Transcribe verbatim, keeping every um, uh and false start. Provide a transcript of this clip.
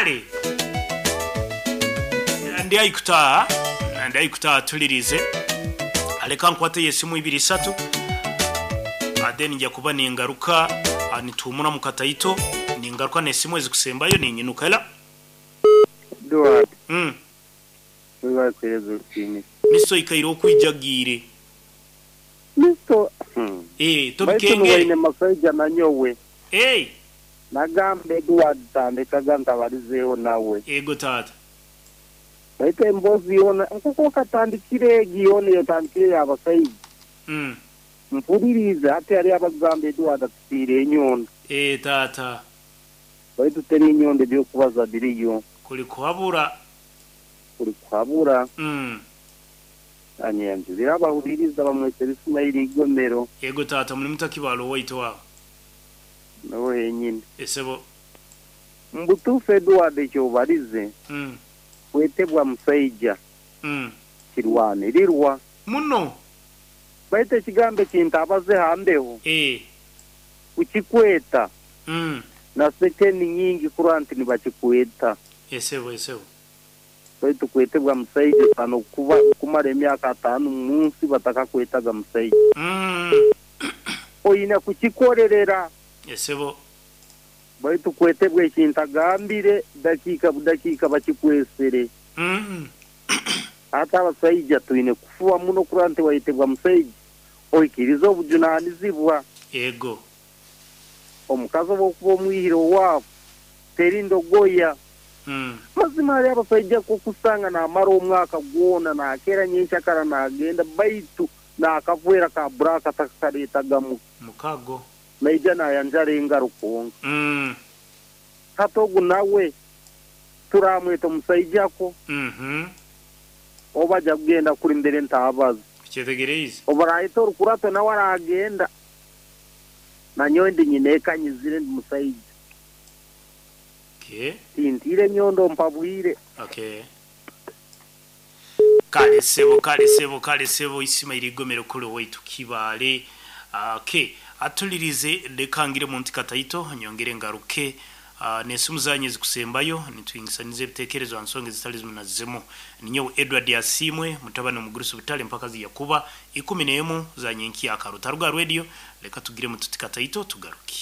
Kale ndi aikutaha, ndi aikutaha, tulirize, aleka nkwate yesimu ibiri isatu, then nja kuba ningaruka nituumura mu kataito, ningaruka nesimu ezikusembayo ninyinuka ela. Edward. Mm. Wibakwereza urukiniro. Miso ikaire okwijagiire. Misto. Eh, baitu tobikengere. Nuwaine masaija nanyowe. Eh, nagamba Edward tandekaga ntabalizeeho nawe. Ego tata. Baitu embozi yona nkuko katandikire egi yona yotandikire y'abasaija. Mm. Mpulirize hati hali abagamba Edward atutiire enyondo. Eh, tata. Baitu teri enyondo ebyokubaza biriyo. Kuli kuhabura. Kuli kuhabura. Mm. Anyanjulira abahuliriza bamwetera Ismaili Igomero. Ego tata, muri mutakibalo waitu wawe. Nawe henyine. Esebo. Mbutufu Edward ekyobalize. Mm. Kwetebwa musaija. Mm. Kirwanirirwa. Muno. Baitu ekigambo ekintabaze hambeho. Eh. Kukikweta. Mm. Na sekeni nyingi kurwa nti nibakikweta. Esebo, esebo. Baitu kwetebwa musaija tano kuba kumara emyaka atano munsi batakakwetaga musaija. Mm. Oyina kukikorerera. Esebo. Baitu kwetebwa ekintagambire dakiika budakiika bakikwesere. Mm. Hata abasaija twine kufuba muno kurwa nti wayetebwa musaija oikiriza obujunanizibwa. Ego. Omukazi obwokuba omwihire owaabo teri ndogoya. Mm. Mazima hali abasaija kokusanga namara omwaka gwona nakera nyenkyakara nagenda baitu nakavwera ka buraka takakareetagamu. Mukago. Naija nayanjara engaro kwonka. Mm. Hati ogu nawe turamweta omusaijako. Mhm. Oba aja kugenda kuri mbere ntabaza. Kyetegereize. Obarahita orukurato nawe aragenda. Nanyowe ndi nyina ekanyizire ndi musaija. Okay. Tintire nyondo mpabwire. Okay. Kale sebo, kale sebo, kale sebo, Ismaili Igomero kule waitu Kibale. Okay, atulirize lekangire mu ntikataito nyongere ngaruke uh, nesimu zanyu zikusembayo nitwingisanize ebitekerezo ansonge zitali zimu na zimu. Ninyo Edward Yasimwe mutabani omugurusi butale mpaka ziyakuba ikumi n'emu za nyenki ya Karuta Ruga Radio. Leka tugire mu tutikataito tugaruke.